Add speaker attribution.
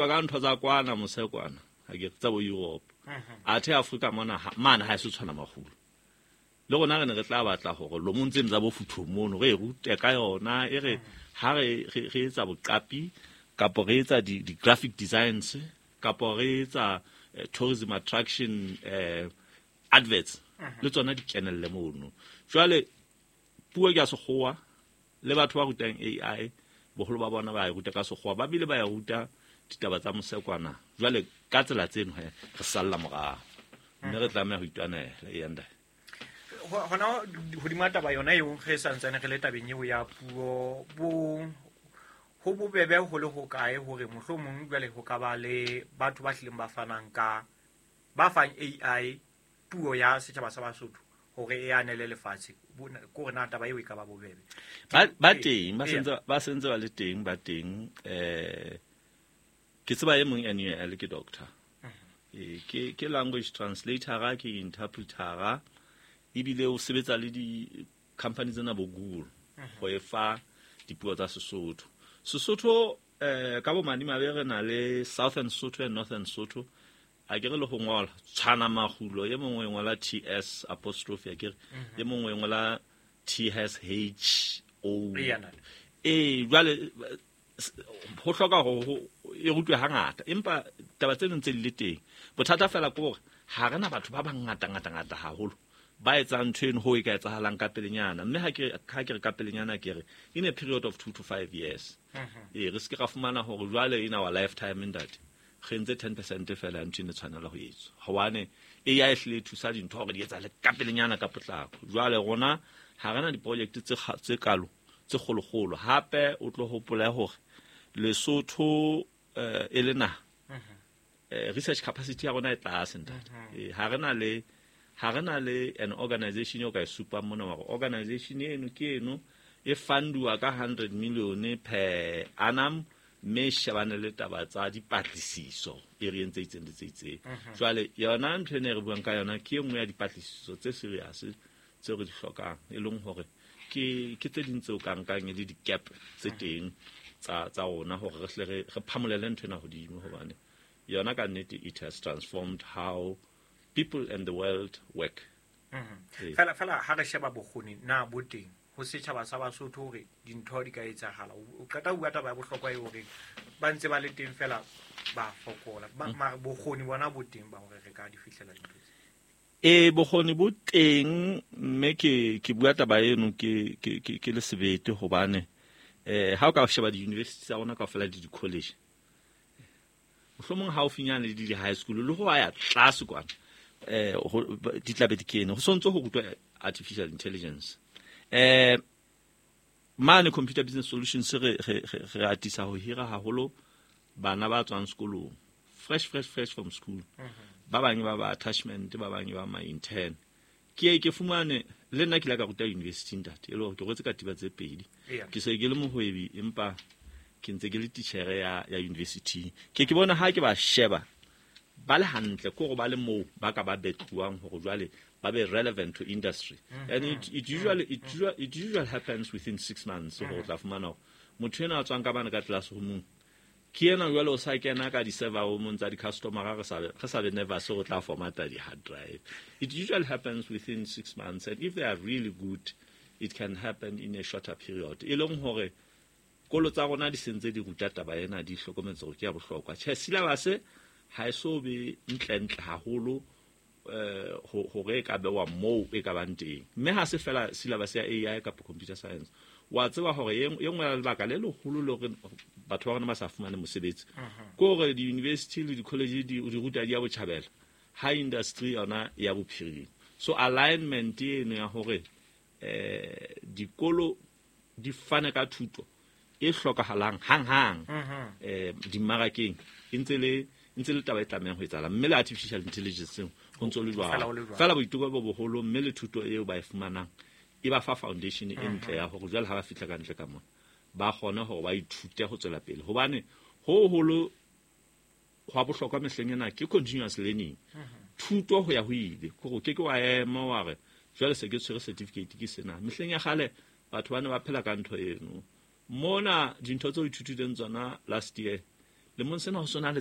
Speaker 1: Ka ntho tsa kwana mose kwana, ha ke tsa bo Europe. Athe Afrika mona mane ha e se tshwana makgulo. Le rona re ne re tla batla hore lomong tseno tsa bo futhong mono re e rute ka yona, e re ha re re etsa boqapi kapo re etsa di-graphic designs kapo re etsa tourism attraction adverts, le tsona di kenelle mono. Jwale puo ke ya sekgowa, le batho ba rutang AI boholo ba bona ba e ruta ka sekgowa, ba bile ba e ruta ditaba tsa mosekwana. Jwale ka tsela tseno he re salla morao, mme re tlameha ho itwanela. E enda
Speaker 2: Hona hodima taba yona eo, re santsane re le tabeng eo ya puo, bo ho bobebe ho le hokae hore mohlomong jwale ho ka ba le batho ba hlileng ba fanang ka ba fang AI puo ya setjhaba sa Basotho hore e anele lefatshe? Ko re na taba eo e ka ba bobebe?
Speaker 1: Ba teng, ba sentse ba le teng, ba teng. Ke tseba e mong NUL, ke doctor, ke language translator, ke interpreter, ebile o sebetsa le di-company tsena bo Google go e fa dipuo tsa Sesotho. Sesotho ka bo madimabe re na le Southern Sotho and Northern Sotho. A ke re le go ngola tshwana magulo, e mongwe e ngola TS apostrophe, a ke re e mongwe e ngola TSH O. Ee, jwale ho hloka hore e rutwe hangata, empa taba tse ntse di le teng. Bothata fela ke hore ha re na batho ba bangata ngata ngata haholo ba etsang ntho eno ho e ka etsahalang ka pelenyana. Mme ha ke re ka pelenyana, ke re in a period of 2 to 5 years. Ee, re se ke ra fumana hore jwale in our lifetime, ntate, re entse 10% fela ya ntho ene tshwanela ho etswa, hobane AI e hlile e thusa dintho hore di etsahale ka pelenyana, ka potlako. Jwale rona ha re na diproject tse kalo tse kgolokgolo. Hape o tlo hopole hore Lesotho e le naha, research capacity ya rona e tlase, ntate. Ha re na le an organization eo ka e supang mona hore organization eno ke eno e funduwa ka 100 million per annum, mme e shebane le taba tsa dipatlisiso e re entse itseng le tse itseng. Jwale yona ntho ena e re buang ka yona ke e nngwe ya dipatlisiso tse serious tseo re di hlokang, e leng hore ke tse ding tseo ka nkang e le di-gap tse teng tsa rona hore re hle re phamolele ntho ena hodimo, hobane yona ka nnete it has transformed how people and the world work.
Speaker 2: Fela fela ha re sheba bokgoni, na bo teng ho setjhaba sa Basotho hore dintho di ka etsahala? O qeta ho bua taba ya bohlokwa e hore ba ntse ba le teng, fela ba fokola. Mara bokgoni bona bo teng ba hore re ka di fihlela dintho tse?
Speaker 1: E, bokgoni bo teng, mme ke bua taba eno ke le sebete, hobane ha o ka sheba di-university tsa rona kaofela le di-college, mohlomong haufinyane le di-high school le ho ya tlase kwana, di tlabe di kene, ho sontse ho rutwa artificial intelligence. Mane Computer Business Solutions re atisa ho hira haholo bana ba tswang sekolong, fresh, fresh, fresh from school. Ba bang ba attachment, ba bang ba ma intern. Ke ye ke fumane le nna ke ile ka ruta university, ntate, e le hore ke rwetse katiba tse pedi. Ke se ke le mohwebi, empa ke ntse ke le titjhere ya university. Ke bona ha ke ba sheba ba le hantle, ke hore ba le moo ba ka ba betluwang hore jwale ba be relevant to industry. And it usually happens within 6 months hore o tla fumana hore motho ena a tswang ka bane ka classroomong ke ena jwale o sa kena ka di-server roomong tsa di-customer, re sa be nervous hore o tla formata di-hard drive. It usually happens within 6 months, and if they are really good, it can happen in a shorter period. E leng hore kolo tsa rona di sentse di ruta taba ena, di hlokometse hore ke ya bohlokwa. Tjhe, syllabus ha e so be ntlentle haholo hore e ka bewa moo e ka bang teng, mme ha se fela syllabus ya AI kapa computer science. Wa tseba hore e nngwe ya lebaka le leholo le hore batho ba rona ba sa fumane mosebetsi ke hore di-university le di-college di ruta di ya botjhabela, ha industry yona ya bophirima. So alignment eno ya hore dikolo di fane ka thuto e hlokahalang hang-hang dimmarakeng e ntse le taba e tlamehang ho etsahala, mme le artificial intelligence ho ntse le
Speaker 2: Fela ho le
Speaker 1: jwalo.
Speaker 2: Jwalo.
Speaker 1: Fela boiteko bo boholo, mme le thuto eo ba e fumanang e ba fa foundation e ntle ya hore jwale ha ba fihla ka ntle ka mona ba kgone hore ba ithute ho tswela pele, hobane ho holo hwa bohlokwa mehleng ena ke continuous learning, thuto ho ya ho ile, kore o ke ke wa ema wa re jwale se ke tshwere certificate ke sena. Mehleng ya kgale batho ba ne ba phela ka ntho eno. Mona dintho tseo o ithutileng tsona last year le Lemong sena ho sona le